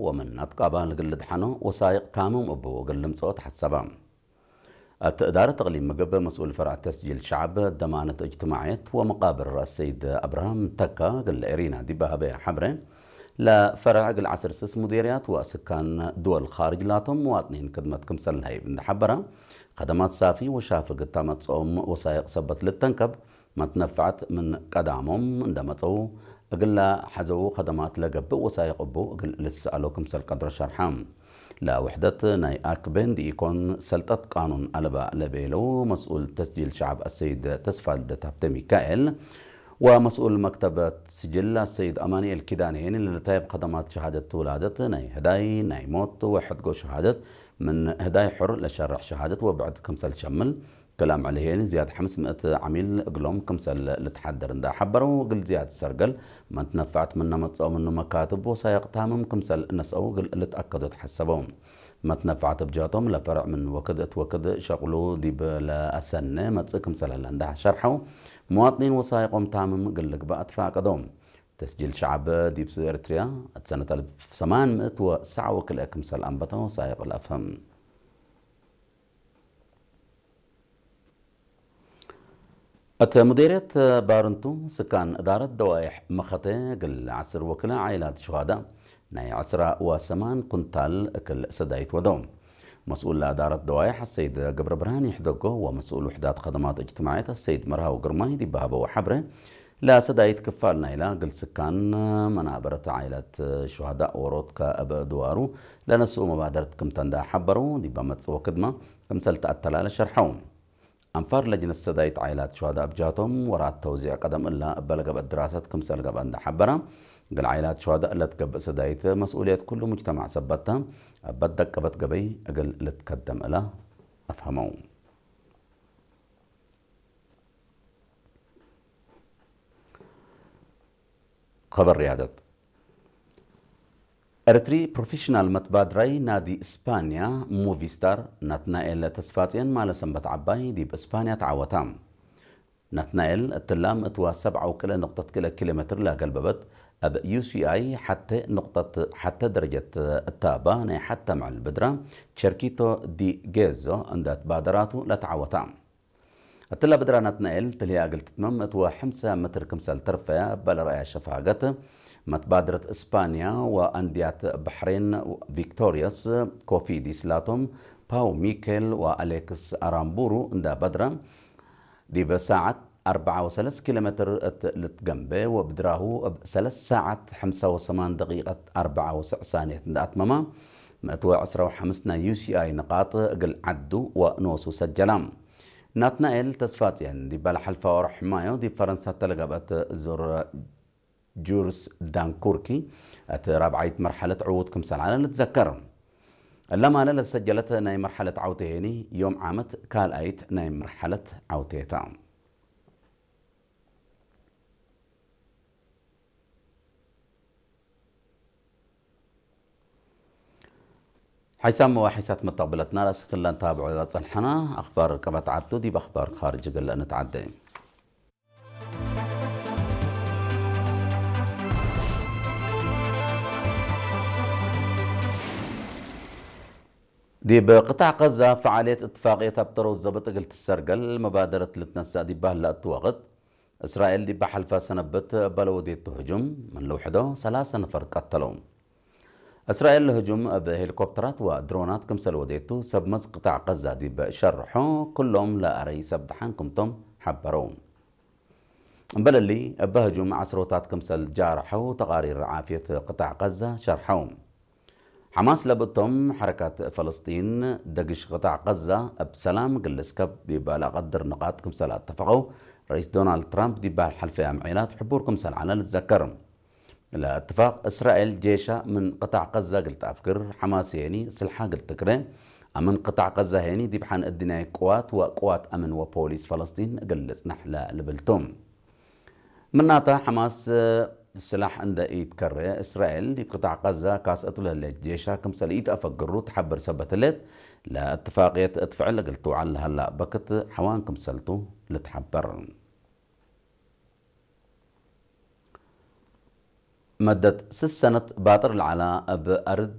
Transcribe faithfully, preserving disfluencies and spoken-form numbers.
ወምን አትቃባል እግል ልድሐኖ ወሳይቅ ታምም እቡ እግል ልምጽኦ ተሐሰበ። እት እዳረት እቅሊም ምግብ መስኡል ፈርዕ ተስጂል ሸዐብ፣ ደማነት እጅትማዕየት ወመቃብር አሰይድ አብርሃም ተካ እግል ኤሪና ዲብ ሀበየ ሐብሬ፣ ለፈርዕ እግል ዐስር ስስ ሙዴርያት ወስካን ድወል ካርጅ ላቶም መዋጥኒን ክድመት ክምሰል ለሀይብ እንደ ሐበረ፣ ከደማት ሳፊ ወሻፍግ እታ መጽኦም ወሳይቅ ሰበት ልተንከብ፣ መትነፈዐት ምን ቀዳሞም እንደ መጸው፣ እግለ ሐዘው ከደማት ለገብእ ወሳይቅ እቡ እግል ልትሰአሎ ክምሰል ቀድሮ ሸርሐ። ለውሕደት ናይ አክቤ እንዲኢኮን ሰልጠት ቃኑን አለበ ለቤለው መስኡል ተስጂል ሸዐብ አሰይድ ተስፋልደት ሀብተ ሚካኤል፣ ወመስኡል መክተብ ስጅል አሰይድ አማንኤል ኪዳኔ ለልታይብ ከደማት ሸሃደት ውላደት ናይ ህዳይ ናይ ሞት ወሕድጎ ሸሃደት ምን ህዳይ ሑር ለሸርሕ ሸሃደት ወብዕድ ክምሰል ሸምል፣ ክል አምዕል ህዬኒ ዝያድ ሐምስ ምእት ዐሚል እግሎም ክምሰል ልትሐደር እንዳ ሐበረው፣ እግል ዝያድ ሰርገል መትነፈዐት ምነ መጽኦ ምኑ መካትብ ወሳይቅ ታምም ክምሰል ነስአው እግል ልትአከዶ ተሐሰበው። መትነፈዐት እብ ጀህቶም ለፈርዕ ምን ወክድ እት ወክድ ሸቅሉ ዲብ ለአሰነ መጽእ ክምሰል ህለ እንዳ ሸርሐው፣ መዋጥኒን ወሳይቆም ታምም እግል ልግበእ አትፋቀደው። ተስጂል ሸዐብ ዲብ ኤርትርያ እት ሰነት አልፍ ሰማን ምእት ወሰዓ ወክልኤ ክምሰል አንበተ ወሳይቅ ለአፍህም። እት ሙዴርየት ባርንቱ፣ ስካን እዳረት ደዋይሕ መኸተ እግል ዐስር ወክልኤ ዓኢላት ሹሃዳእ ናይ ዐስራ ወሰማን ኩንታል እክል ሰዳይት ወደው። መስኡል ለእዳረት ደዋይሕ አሰይድ ገብረብርሃን ይሕደጎ ወመስኡል ውሕዳት ከደማት እጅትማዕየት አሰይድ መርሃዊ ግርማይ ዲብ ሀበው ሐብሬ፣ ለሰዳይት ክፋል ናይላ እግል ስካን መናበረት ዓኢላት ሹሃዳእ ዎሮት ከእብ ድዋሩ ለነስኡ መባደረት ክምተ እንዳ ሐበረው፣ ዲብ መጽእ ወክድመ ክምሰል ተአተላለ ሸርሐው። አንፋር ለጅነት ሰዳይት ዓኢላት ሹሃዳእ እብ ጀህቶም፣ ወራት ተውዚዕ ቀደም እላ እበ ለገብአት ድራሰት ክምሰል ገብአ እንዳ ሐበረ፣ እግል ዓኢላት ሹሃዳእ ለትገብእ ሰዳይት መስኡልየት ኩሉ ሙጅተማዕ ሰበት ተ፣ እበ ደቀበት ገበይ እግል ልትከደም እለ አፍሀመው። ኸበር ርያደት። ኤረትሪ ፕሮፌሽናል መትባድራይ ናዲ እስፓንያ ሙቪስታር ናትናኤል ተስፋጽዮን ማለ ሰንበት ዐባይ ዲብ እስፓንያ ተዓወታ። ናትናኤል እትላ ምእት ወሰብዓ ወክልኤ ንቅጠት ክልኤ ኪሎ ሜትር ለገልበበት፣ እብ ዩ ሲ አይ ሐቴ ንቅጠት ሐቴ ደረጀት እታባ ናይ ሐቴ ምዕል ብድራ ቸርኪቶ ዲ ጌዞ እንደ ትባደራቱ ለተዓወታ። እትለ ብድራ ናትናኤል ትልህየ እግል ትትመም እት ወሐምሰ ምትር ክምሰል ተርፈ እበ ለረአየ ሸፋገት፣ መትባድረት እስፓንያ ወአንድያት በሕሬን ቪክቶሪየስ ኮፊዲስ ላቶም ፓው ሚኬል ወአሌክስ አራምቡሩ እንደ በድረ፣ ዲብ ሳዐት አርበዓ ወሰለስ ኪሎ ሜትር እት ልትገንቤ ወብድራሁ እብ ሰለስ ሳዐት ሐምሳ ወሰማን ደቂቀት አርበዓ ወሰዕ ሳንየት እንደ አትመማ፣ ምእት ወዕስራ ወሐምስ ናይ ዩ ሲ አይ ንቃጥ እግል ዐዱ ወኖሱ ሰጀላ። ናትናኤል ተስፋጽዮን ዲበ ለሐልፈ ወርሕ ማዮ ዲብ ፈረንሳ ተለገብአት ዙር ጁርስ ዳንኩርኪ እት ራብዓይት መርሐለት ዕዉት ክምሰል ዐለ ልትዘከር። እለ ማለ ለሰጀለት ናይ መርሐለት ዐውቴ ሄኒ ዮም ዓመት ካልኣይት ናይ መርሐለት ዐውቴ ተ። ሓይሳም ወሓይሳት መተቅብለትና ለአስክ ለንታብዖ ለጸንሐና አኽባር ቀበት ዐቱ ዲብ አኽባር ካርጅ እግል እንትዓደ። ዲብ ቅጣዕ ቀዛ ፈዓልየት እትፋቅየት አብጠረው ዘብጥ እግል ትሰርገል መባደረት ልትነሰእ ዲብ በህለ እቱ ወቅት፣ እስራኤል ዲብ ሐልፈ ሰነብት እበ ለወዴቱ ህጁም ምን ልውሕዶ ሰላሰ ነፈር ቀተለው። እስራኤል ለህጁም እብ ሄሊኮፕተራት ወድሮናት ክምሰል ወዴቱ ሰብ መዝ ቅጣዕ ቀዛ ዲብ ሸርሖ፣ ኩሎም ለአረይ ሰብ ደሓን ክምቶም ሐበረው። እምበል እሊ፣ እበ ህጁም ዐስሮታት ክምሰል ጃርሐው ተቃሪር ዓፍየት ቅጣዕ ቀዛ ሸርሐው። ሐማስ ለብእቶም፣ ሐረካት ፈለስጢን ደግሽ ቅጣዕ ቀዛ እብ ሰላም እግል ልስከብ ዲብ ለአቀድር ንቃጥ ክምሰል አተፈቀው፣ ረኢስ ዶናልድ ትራምፕ ዲብ ሐልፈ አምዔላት ሕቡር ክምሰል ዐለ ልትዘከር። ለእትፋቅ፣ እስራኤል ጄሻ ምን ቅጣዕ ቀዛ እግል ተአፍግር፣ ሐማስ ሄኒ ስልሓ እግል ትክሬ፣ አምን ቅጣዕ ቀዛ ሄኒ ዲብ ሐን እድንያይ ቅዋት ወቅዋት አምን ወፖሊስ ፈለስጢን እግል ልጽነሕ ለልብል ቱ። ምናተ፣ ሐማስ ስላሕ እንደ ኢትከሬ፣ እስራኤል ዲብ ቅጣዕ ቀዛ ካስአቱ ለህሌት ጄሻ ክምሰል ኢተአፈግሩ ተሐብር ሰበት ህሌት፣ ለእትፋቅየት እት ፍዕል እግል ትውዓል ለሀላ በክት ሐዋን ክምሰልቱ ልትሐበር። መደት ስስ ሰነት ባጥር ለዐላ እብ አርድ